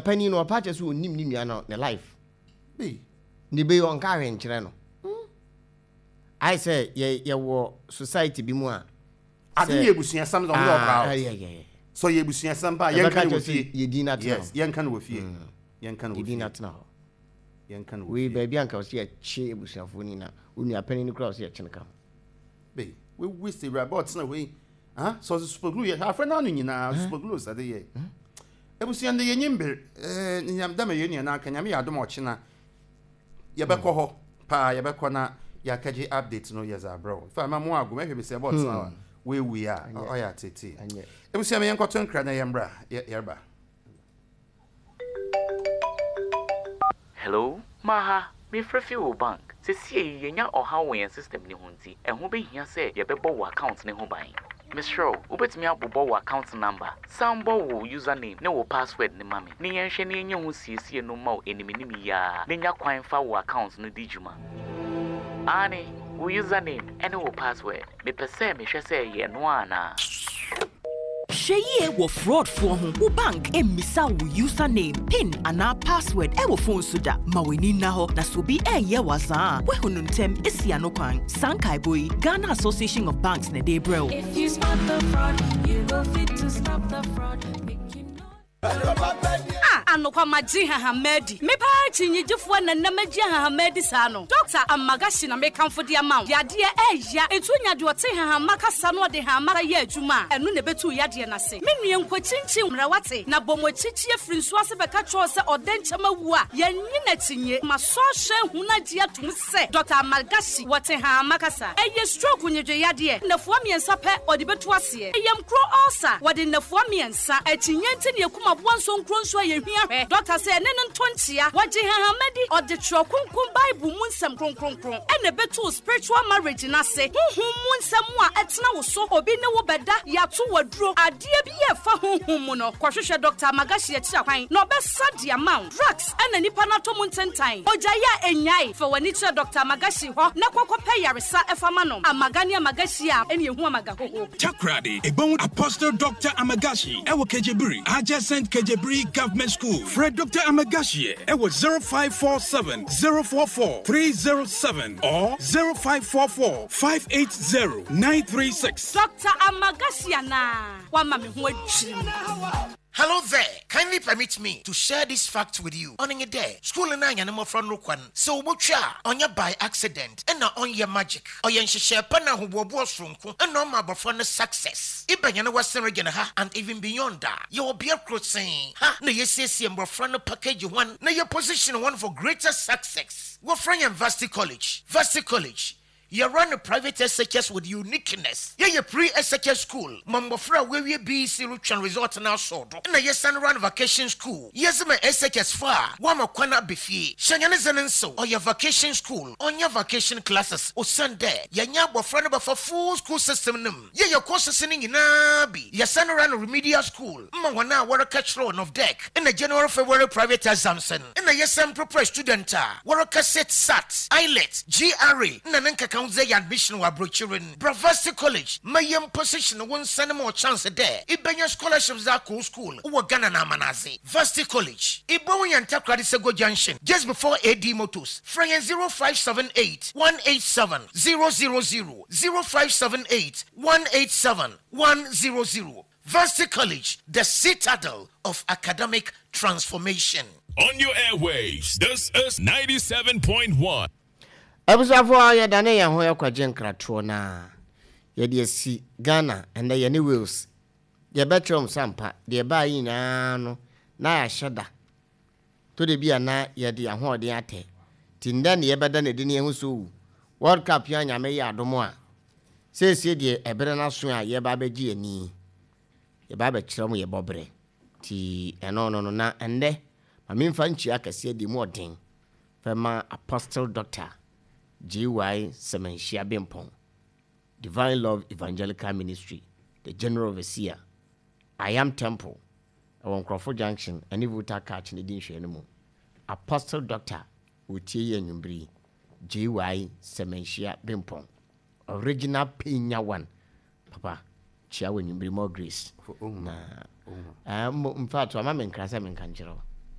Panin no ɔpa kyɛ sɛ ɔnim ne nua no ne life. Ne bɛ yi ɔnka ahwɛ nkyerɛ no. Ayɛ sɛ yɛ yɛwɔ society bi mu a. Ade yɛ abusuasɛm na ɔmo yɛ ɔkra o. Sɛ ɔyɛ abusuasɛm pa a yɛnka no wɔ fie. Yɛ din atena hɔ. Yes, yɛnka no wɔ fie. Yɛnka no wɔ fie. Yɛ din atena hɔ. Yɛnka no wɔ fie. Wei baabi anka ɔsɛ yɛkye abusuafoɔ no nyinaa. Onua panin no koraa ɔsɛ yɛkye no ka ho. Bɛyi, we waste awuraba ɔtena hɔ yi. Ah, sɛ ɔdze super glue yɛ hwɛ afrɛ n'ano nyinaa ɔdze super glue sɛ de yɛ. Ebusua ndɛ yɛnyi mber eh nyam dɛ ma yɛn nua no aka Nyame yɛ adom a ɔkyena yɛbɛkɔ hɔ paa yɛbɛkɔ na yɛakɛgye update no yɛdze abrɛ wo fa ma mo ago mɛhwɛ besia bɛ ɔtena hɔ a woewu a ɔyɛ atseetsee Ebusua ma yɛnkɔto nkra na yɛmbra yɛreba. Hello, Maha, mefrɛ fi wo bank. Sesiei yɛanya ɔhaw wɔ yɛn system no ho nti, ɛho bɛhia sɛ yɛbɛbɔ wo account no ho ban. Mesrɛ wo, wobɛtumi abobɔ wo account number, san bɔ wo username ne wo password no ma me ne yɛnhwɛ na yɛnyɛ ho siesie no mma wo animanim yi ara na nya kwan fa wo account no di dwuma. Aane, wo username ne wo password. Mepɛ sɛ mehwɛ sɛ ɛyɛ ɛno ara anaa. Hwɛ yie wɔ fraudfoɔ ho. Wo bank mmisa wo username, pin anaa password wɔ phone so da. Ma w'ani nna hɔ na sɛ obi reyɛ wo azaa a, woahu no ntɛm asi ano kwan. Saa nkaebɔ yi, Ghana Association of Banks na ɛde rebrɛ wo. If you spot the fraud, you go fit to stop the fraud. Make you know. Ah, anokwa magye nhahamma adi. Me paa kyinnyegyefoɔ na nnɛ magye nhahamma adi saa no. Dɔkta Amagashi na mekamfo de ama wo. Yadeɛ ɛɛya, enti wonya deɛ ɔte nhahamma kasa na ɔde nhahamma yɛ adwuma a, ɛno na ɛbɛtu wo yadeɛ no ase. Me nua nkɔkyinkyin mmra wate, na bɔ mo akyikyi afiri nsuo ase bɛka kyerɛ wo sɛ ɔdɛnkyɛm awu a, yɛnnye no akyinnye. Masɔ ahwɛ ahunu agye atom sɛ Dɔkta Amagashi wɔte nhahamma kasa. Ɛyɛ stroke nnwedwe yadeɛ, nnafua mmiɛnsa pɛ ɔde bɛtu aseɛ. Ɛyam kuro ulcer, wɔde nnafua mmiɛnsa. Akyinnye nti na yɛkum aboa nsonkuro nso a yɛhia hwɛ. Dɔkta sɛ ɛne no nto nkyea. Wɔgye nhahamma di. Ɔde Twerɛ Kronkron Bible mu nsɛm kronkronkron na ɛbɛtu wo spiritual marriage no ase. Honhom mu nsɛm a ɛtena wo so, obi ne wo bɛda, yɛato wo aduro, adeɛ bi a ɛfa honhom mu no, kɔhwehwɛ Dɔkta Amagashi akyiri akwan na ɔbɛsa de ama wo. Drugs na nipa no atɔ mu ntentan. Ogyae a ɛnnyae. Fa w'ani kyerɛ Dɔkta Amagashi hɔ na kɔ kɔpɛ yaresa fa ma no. Amaga ne Amagashi a ɛne ɛhu Amagahoho. Takoradi, Ebon Apostle Doctor Amagashi ɛwɔ Kejebiri, adjacent Kejebiri Government School. Frɛ Doctor Amagashi ɛwɔ 0547 044 307 or 0544 580 936. Doctor Amagashi anaa? Wama me ho adwiri me. Hello there! Kindly permit me to share this fact with you, Ɔno nye dɛ, skuul no a hɛn mbofra no rokɔ no, sɛ wobotwa a, ɔnnyɛ by accident nna ɔnnyɛ magic. Ɔyɛ nhyehyɛɛ pa na ahoboaboa soronko na ɔma abofra no success. Eba hɛn Western Region ha and even beyond a, yɛwɔ bea kortsee ha na yesiesie mbofra no package hɔn na yɛ position hɔn for greater success. Wɔfrɛ hɛn Varsity College. Varsity College, Yɛ run private SHS with uniqueness. Yɛ yɛ pre SHS school ma mbofra a woewie BEC rotweɔn result no asɔw do. Nna yɛsan run vacation school yɛdze ma SHS fo a wɔama kwan aba fie. Hyɛ hɛn dze no nsew, ɔyɛ vacation school, ɔnnyɛ vacation classes osiandɛ yɛnye abofra no bɛfa full school system no mu. Yɛyɛ courses no nyina bi. Yɛsan run remedial school ma hɔn a wɔrekɛkyerɛw Nov-Dec na January-February private exams no. Nna yɛsan prepare student a wɔreka sit, sat, IELTS, GRE na ne nkekaho dze ayɛ admission wɔ aborɔkyir no. Bra Varsity College ma yɛmposition wo nsa no ma wo chance dɛ ibenya scholarships dze akɔ wo skuul wɔ Ghana na amanadze. Varsity College, ibohu hɛn Takoradi Sego Junction just before AD Motors. Frɛ hɛn 0578 187 000, 0578 187 100. Varsity College, the citadel of academic transformation. On your airwaves, this is 97.1. Abusuafoɔ yɛdane yɛn ho kɔgye nkratoɔ na yɛde asi Ghana ɛnnɛ yɛne Wales yɛbɛkyerɛ wɔn sɛ ampa deɛ ɛbaa yi nyinaa no na yɛahyɛ da tɔ da bi a na yɛde yɛn ahoɔden atɛ nti nnɛ ne yɛbɛda no adi ne yɛho sɛ owu World Cup yi a Nyame yɛ adom a Seesei deɛ ɛberɛ no aso a yɛreba abɛgye yɛn ani, yɛreba abɛkyerɛ mo yɛn bɔberɛ. Nti ɛno no no, na ɛnnɛ ma memfa nkyia kɛseɛ deɛ mu ɔden fɛma Apostle Doctor JY Semanhyia Bempong, Divine Love Evangelical Ministry, the General Overseer, I Am Temple, ɛwɔ Nkorɔfo Junction ɛne Volta Catch no di nhwɛɛ no mu. Apostle Doctor ɔretie yi anwummere yi, JY Semanhyia Bempong. Original penya one papa kyia wɔ anwummere more grace na eh, mbo in fact wama me nkra sɛ menka nkyerɛ wo.